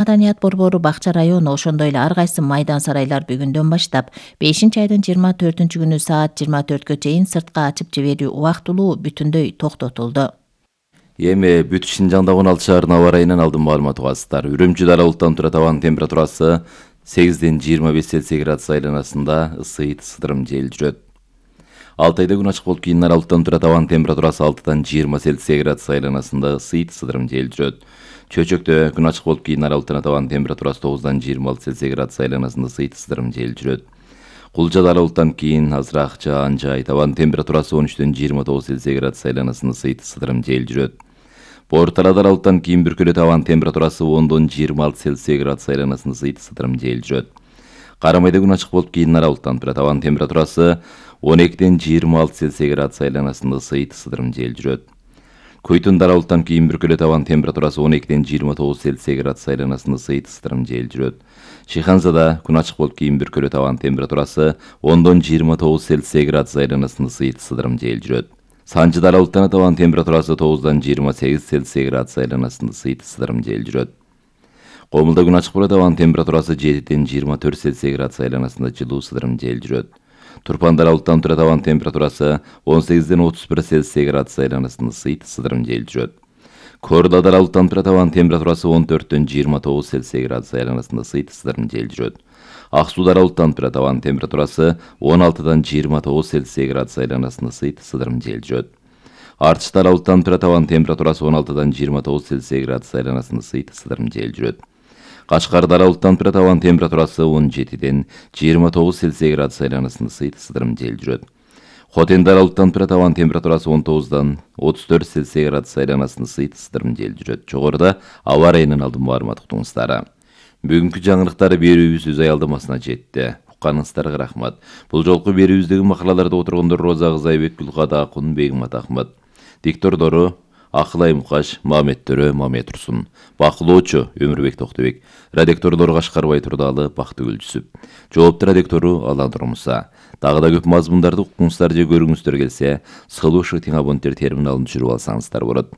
Маданият борбору Бакча району ошондой эле ар кайсы майдан сарайлар бүгүндөн баштап 5-айдын 24-күнү саат 24кө чейин сыртка ачып жиберүү убактылуу бүтүндөй токтотулду. Эми бүт Шинжаңда 16 шаарынын аба ырайынан алдын маалымат угасыздар. Үрүмчүдө аралыктан тура табан температурасы 8-ден 25 Цельсий градус айланасында ысыйт сыдырым жел жүрөт. Алтайда күн ачык болуп кийин аралыктан тура табан температурасы 6-дан 20 Цельсий градус айланасында ысыйт сыдырым жел жүрөт. Чөчөктө күн ачык болуп кийин аралыктан табан температурасы 9-дан 26 Цельсий градус айланасында ысыйт сыдырым жел жүрөт. Кулжада аралыктан кийин азыраак жаан жай, табан температурасы 13-ден 29 Цельсий градус айланасында ысыйт сыдырым жел жүрөт. Бортарада аралыктан кийин бүркөлө табан температурасы 10-дон 26 Цельсий градус айланасында ысыйт сыдырым жел жүрөт. Карамайда күн ачык болуп кийин аралыктан тура табан температурасы 12-ден 26 Цельсий градус айланасында ысыйт сыдырым жел жүрөт. Көйтүндө аралыктан кийин бүркөлө табан температурасы 12-ден 29 Цельсий градус айланасында ысыйт сыдырым жел жүрөт. Шиханзада күн ачык болуп кийин бүркөлө табан температурасы 10-дон 29 Цельсий градус айланасында ысыйт сыдырым жел жүрөт. Санжыда аралыктан табан температурасы 9-дан 28 Цельсий градус айланасында ысыйт сыдырым жел жүрөт. Комулда күн ачык болуп табан температурасы 7-ден 24 Цельсий градус айланасында жылуу сыдырым жел жүрөт. Турпанда аралыктан тура табан температурасы 18-ден 31 Цельсий градус айланасында ысыйт сыдырым жел жүрөт. Коордада аралыктан тура табан температурасы 14-ден 29 Цельсий градус айланасында ысыйт сыдырым жел жүрөт. Ак сууда аралыктан тура табан температурасы 16-дан 29 Цельсий градус айланасында ысыйт сыдырым жел жүрөт. Артышта аралыктан тура табан температурасы 16-дан 29 Цельсий градус айланасында ысыйт сыдырым жел жүрөт. Кашкарда аралыктан тура табан температурасы 17-ден 29 Цельсий градус айланасында ысыйт сыдырым жел жүрөт. Хотенде аралыктан тура табан температурасы 19-дан 34 Цельсий градус айланасында ысыйт сыдырым жел жүрөт. Жогоруда аба ырайынан алдын маалымат уктуңуздар. Бүгүнкү жаңылыктар берүүбүз өз аялдамасына жетти. Укканыңыздарга рахмат. Бул жолку берүүбүздөгү макалаларда отургондор Роза Кызайбек, Гүлкада Акун, Бегимат Ахмат. Диктордору Акылай Мукаш, Мамет Төрө, Мамет Турсун. Бакылоочу Өмүрбек Токтобек. Редактордор Кашкарбай Турдалы, Бактыгүл Жүсүп. Жоопту редактору Алан Нурмуса. Дагы да көп мазмундарды укуңуздар же көрүңүздөр келсе, Сылуу ШТ абоненттер терминалын түшүрүп алсаңыздар болот.